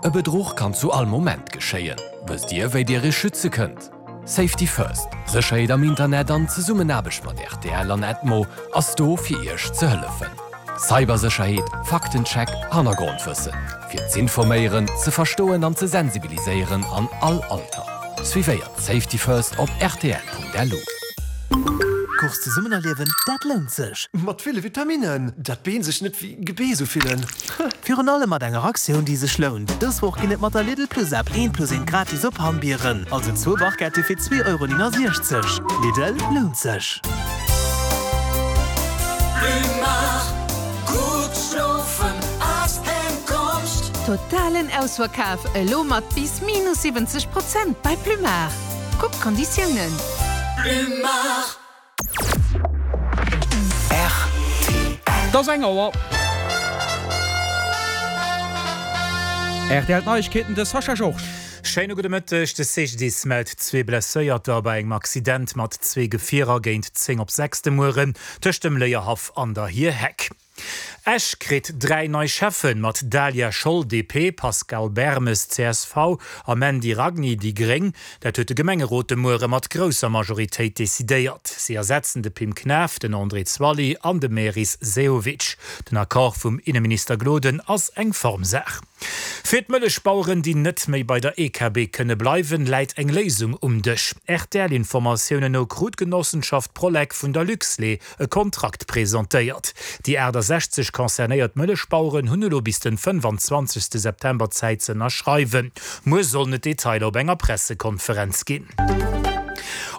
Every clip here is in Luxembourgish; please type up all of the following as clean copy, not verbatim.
E Bedruch kann zu all Moment geschéien. Wësst Dir, wéi Dir Iech schütze kënnt? Safety First, Sécherheet am Internet an Zesummenaarbecht mat rtl an Edmo ass do fir Iech ze hëllefen. Cybersécherheet, Faktencheck, Hannergrondwëssen. Fir z'informéieren, ze verstoen an ze sensibiliséieren an all Alter. Suivéiert Safety First op rtl.lu. Course zesummen erliewen, dat lount sech! Mat ville Vitaminnen, dat d'Been sech net wéi Gebeess ufillen. Virun allem mat enger Aktioun, déi sech lount. Dës Woch ginn et mat der Lidl Plus App eent plus eent gratis op Hammbieren, also zwou Barquette fir 2,69 Euro. Lidl, lount sech! Totalen Ausverkaf elo mat bis minus 70 Prozent bei Plumard. Kuck d'Konditiounen. Et ass eng Auer. Rtl Neiegkeeten, de Sascha Georges. Schéine gudde Mëtteg. De CGDIS mellt zwee Blesséierter bei engem Accident mat zwee Gefierer géint 10 op 6 de Mueren tëscht dem Léierhaff an der Hierheck. Esch kritt 3 nei Schäffen, mat Daliah Scholl, DP, Pascal Bermes, csv, a Mandy Ragni, déi gréng. Dat huet de Gemengerot de Muere mat grousser Majoritéit decidéiert. Si ersetzen de Pim Knaff, den André Zwally an de Meris Sehovic. Den Accord vum Inneminister Gloden ass eng Formsaach. Fir d'Mëllechbaueren, déi net méi bei der EKB kënne bleiwen, läit eng Léisung um Dësch. RTL-Informatiounen no krut d'Genossenschaft Prolec vun der Luxlait e Kontrakt presentéiert. Déi 68 concernéiert Mëllechbaueren hunn elo bis den 25 September Zäit ze ënnerschreiwen. Muer sollen et Detailer op enger Pressekonferenz ginn.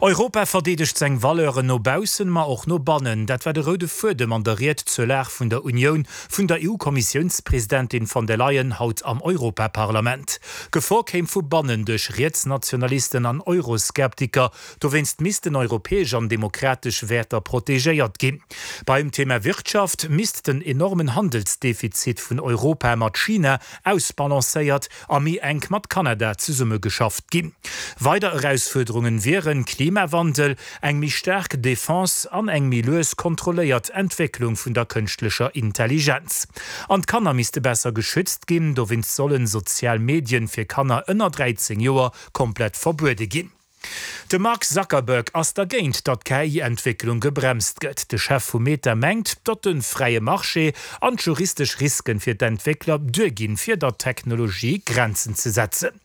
Europa verdeedegt seng Valeuren no baussen, ma och no bannen. Dat war de roude Fuedem an der Ried zur Lag vun der Unioun vun der EU-Kommissiounspresidentin von der Leyen haut am Europaparlament. Gefor kéim vu bannen duerch Rietsnationalisten an Euroskeptiker, Dowéinst missten europäesch an demokratesch Wäerter protegéiert ginn. Beim Thema Wirtschaft misst den enormen Handelsdefizit vun Europa mat China ausbalancéiert a méi enk mat Kanada zesummegeschafft ginn. Weider Erausfuerderungen wieren Klimawandel, eng méi staark Defense an eng méi lues kontrolléiert Entwécklung vun der kënschtlecher Intelligenz. An d'Kanner misste besser geschützt ginn, dowéinst sollen sozial Medien fir Kanner ënner 13 Joer komplett verbuede ginn. De Mark Zuckerberg ass dergéint, datt d'KI-Entwécklung gebremst gëtt. De Chef vu Meta mengt, datt de fräie Marché an d'juristesch Risken fir d'Entwéckler duerginn, fir der Technologie Grenzen ze setzen.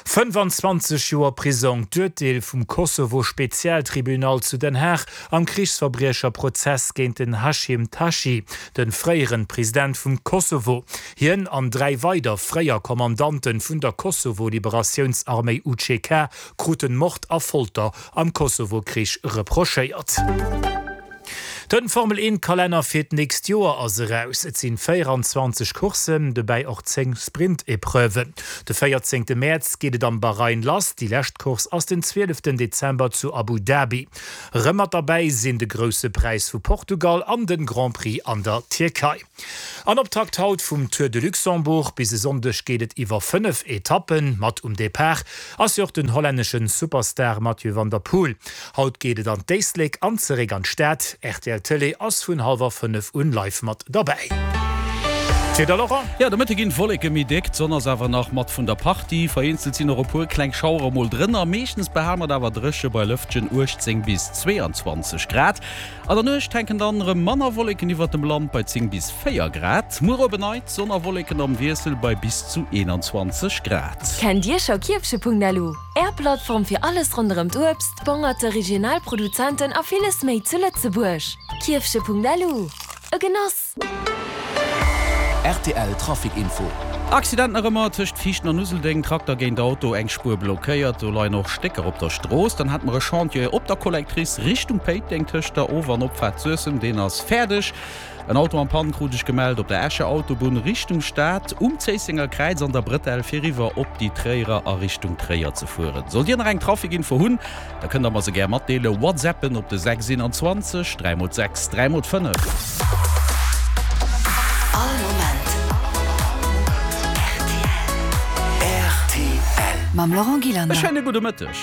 25 Joer Prisong, d'Urteel vum Kosovo-Spezialtribunal zu Den Haag am Krichsverbriecherprozess géint den Hashim Thaçi, de fréieren President vum Kosovo. Hien an 3 weider fréier Kommandanten vun der Kosovo-Liberatiounsarméi UCK kruten Mord a Folter am Kosovo-Krich reprochéiert. Den Formel 1 Kalenner fir d'nächst Joer ass eraus. Et sinn 24 Courssen, dobäi och 10 Sprint-Epreuven. De 14 Mäerz geet et am Bahrain lass, déi lescht Course ass den 12 Dezember zu Abu Dhabi. Erëm mat derbäi sinn de Grousse Präis vu Portugal an den Grand Prix an der Tierkei. An Optakt haut vum Tour de Luxembourg. Bis e Sonndeg geet et iwwer 5 Etappen. Mat um Depart ass jo och den hollännesche Superstar Mathieu van der Poel. Haut geet et an d'Éislek an zeréck an d'Stad. Rtl Tëlee ass vun hallwer 5 un live mat derbäi. D'Wieder, Laurent? Jo, de Mëtte ginn d'Wolleke méi déck, d'Sonn ass awer nach mat vun der Partie. Vereenzelt sinn och e puer kleng Schauere mol drënner. Meeschtens behale mer et awer dréche bei Lëftchen 18 bis 22 Grad. An der Nuecht hänken dann erëm manner Wolleken iwwert dem Land bei 10 bis 4 Grad. Muer op en Neits Sonn a Wolleken am Wiessel bei bis zu 21 Grad. Kennt Dir scho Kierfche.lu, Är Plattform fir alles ronderëm d'Uebst, d'Bongerte, regional Produzenten a villes méi zu Lëtzebuerg? Kierfche.lu, e Genoss! Rtl Trafic Info. Accident nach ëmmer tëscht Viichten an Useldeng, Trakter géint Auto, eng Spuer blockéiert, do leien och Stécker op der Strooss. Dann hate mer e Chantier op der Collectrice Richtung Péiteng tëscht der Of an Opfaart Suessem, deen ass fäerdeg. En Auto en Panne krut ech gemellt op der Escher Autobunn Richtung Stad um Zéissenger Kräiz an der Bretelle fir eriwwer op déi Tréierer a Richtung Tréier ze fueren. Sollt Dir nach eng Trafic-Info hunn, Da kënnt der mer se gär matdeelen. Whatsappen op de 6 21 3 mol 6 3 mol 5. All Moment rtl. Mam Laurent E Gillander. schéine gudde Mëtteg.